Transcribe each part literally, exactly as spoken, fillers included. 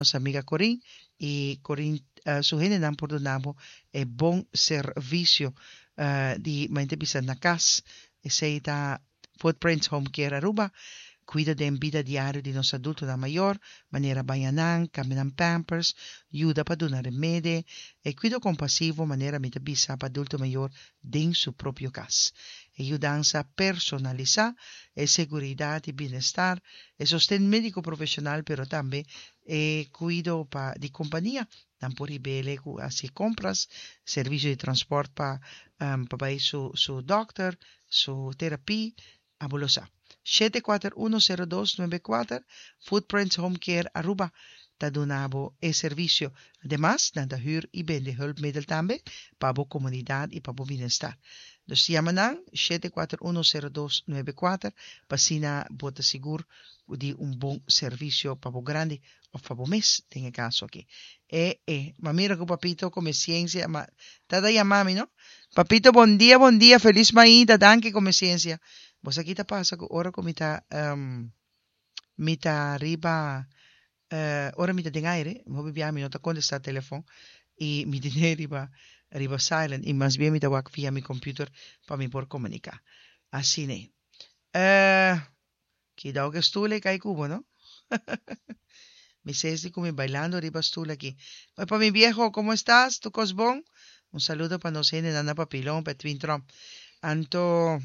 Nos amiga Corin y Corin uh, su hendenan por duna bo e bon servicio uh, di mente bisa na cas. Esey ta Footprints Home Care Aruba. Cuida den bida diario di nos adultonan mayor, manera baña nan, cambia nan pampers, yuda pa duna remedi, e cuido compasivo, manera mi ta bisa, pa adulto mayor den su propio cas. E yudansa personalisa, e seguridad y bienestar, e sosten medico profesional, pero tambe e cuido pa di compania. Nan por hib'e cu haci compras, servicio di transporte pa um, pa bay su, su dokter, su terapia, abo lo sa. shete kuater un sero dos nuebe kuater. Footprints Home Care Aruba ta duna bo e servicio. Ademas, nan ta huur y bende hulpmiddel tambe pa bo comunidad y pa bo bienestar. Dus yama nan shete kuater un sero dos nuebe kuater pa asina bo ta sigur di un bon servicio pa bo grandi of pa bo mes den e caso aki. E, e, ma mira cu Papito come ciencia, ma ta da yama mi, no? Papito, bon dia, bon dia, feliz mainta, danki, come ciencia. Bo sa kico ta pasa cu ora cu mi ta um, mi ta riba uh, ora mi ta den aire, hopi bia mi no ta contesta telefon y mi tin'e riba riba silent y mas bien mi ta wak via mi computer pa mi por comunica. Asina ne. Uh, Cuidado cu stoel cay cu bo, no? Mi sesi cu mi bailando riba stoel aki. Oi, pa mi viejo, ¿cómo estás? Tur cos bon? Un saludo pa nos hende na Papilón, pa Twin Trump. Anto,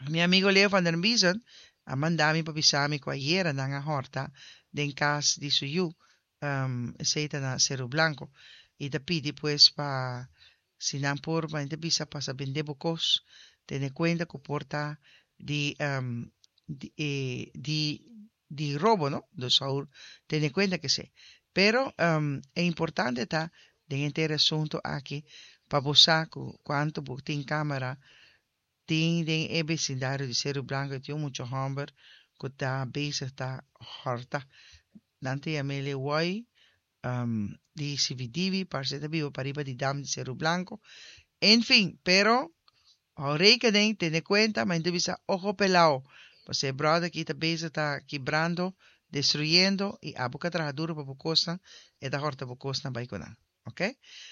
mi amigo Leo van der Biesen a manda mi pa bisa mi cu ayera nan a horta den cas di su yu, um, esey ta na Cerro Blanco. Y ta pidi pues pa si nan por ma bisa pasa bende bo cos, tene cuenta cu por ta di, um, di, eh, di, di robo, no? Dus awor tene cuenta cu si. Pero um, e importante ta den henter asunto aki pa bo sa cu cuanto bo tin camera tin den e vecindario di Cerro Blanco, tin mucho homber cu ta bezig ta horta. Nan ta yam'e Woi um, di C V D V, parce ta biba pariba di dam di Cerro Blanco. En fin, pero hou rekening, tene cuenta, ma bisa ojo pelao. Pues e brother aki ta bezig ta kibrando, destruyendo y abo cu a traha duro pa bo cosnan, e ta horta bo cosnan bay cu nan. Ok?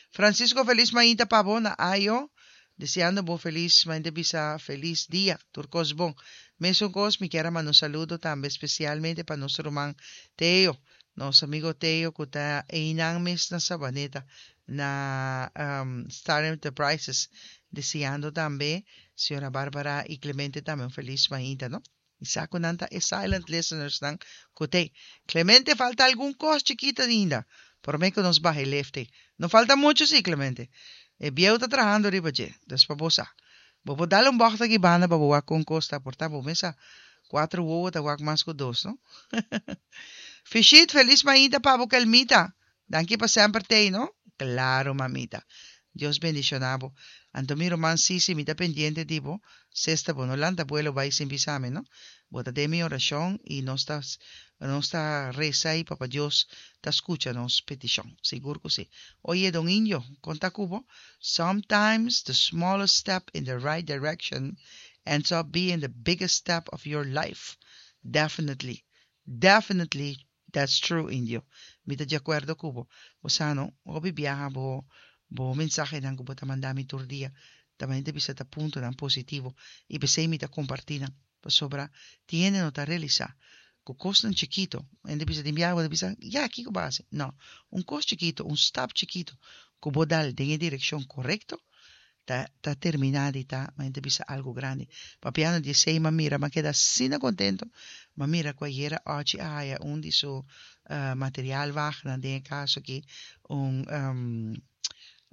Francisco, feliz mainta pa bo na Ayo. Deseando bo feliz, mainta, bisa feliz dia. Tur cos bon. Mesun cos, mi kier manda un saludo tambe especialmente pa nos ruman Teo. Nos amigo Teo, cu ta einan mes na Sabaneta, na um, Star Enterprises. Deseando tambe, señora Bárbara y Clemente tambe un feliz mainta, no? Y sa cu nan ta e silent listeners nan cu te. Clemente, falta algun cos chikito ainda. Por mi cu nos baha lefte. No falta mucho, si, Clemente. E bieu ta trahando riba dje. Dus pa bo sa. Bo por dal un bocht aki banda pa bo wak con cos ta, por ta bo mes sa. Cuatro wowo ta wak mas cu dos, no? Fishit, feliz mainta pa bo, Kelmita. Danki pa semper t'ey, no? Claro, mamita. Dios bendiciona bo. Anto mi ruman Sisi, mi ta pendiente di bo. Sesta bo no lanta vuelo bay sin bisa mi, no? Bo ta den mi oracion y nos ta nos ta resa y Papa Dios ta scucha nos peticion. Sigur cu si. Oye, Don Indio, conta cu bo. Sometimes the smallest step in the right direction ends up being the biggest step of your life. Definitely. Definitely that's true, Indio. Mi ta di acuerdo cu bo. Bo sa no, hopi biaha bo bo mensahenan cu bo ta manda mi tur dia. Tambe ta bisa ta puntonan positivo. Y pesey mi ta comparti nan. Pasobra tin no ta realisa. Cu cosnan chikito. Hende bisa tin biaha bo bisa, ya, kico bo a haci? No, un cos chikito, un stap chikito cu bo dal den direccion corecto, ta, ta termina di ta, ma hende bisa algo grandi. Papiando di esey, m'a mira, m'a keda asina contento, m'a mira cu ayera Ochi a haya un di su uh, materiaalwagen, den caso aki, un um,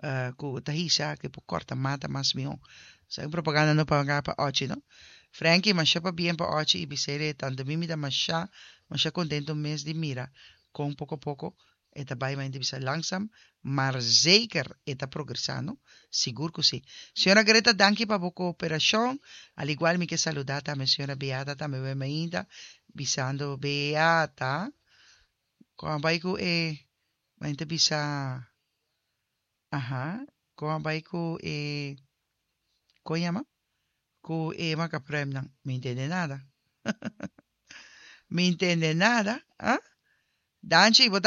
uh, cu ta hisa, cu por corta mata mas miho. Sa propaganda no paga pa Ochi, no? Frankie, masha pabien pa Ochi y bis'e tanto mi mi ta masha, masha contento mes di mira, con poco poco, e ta bay maar bisa langzaam, maar zeker e ta progresando. Sigur cu si. Señora Greta, danki pa bo cooperacion. Al igual mi kier saluda tambe señora Beata tambe ainda, bisando Beata. Con bay cu e mente bisa, aha, con bay cu e con yama? Cu e macaprem nan. Mi entende nada. Mi entende nada, ah? Danchi, bo.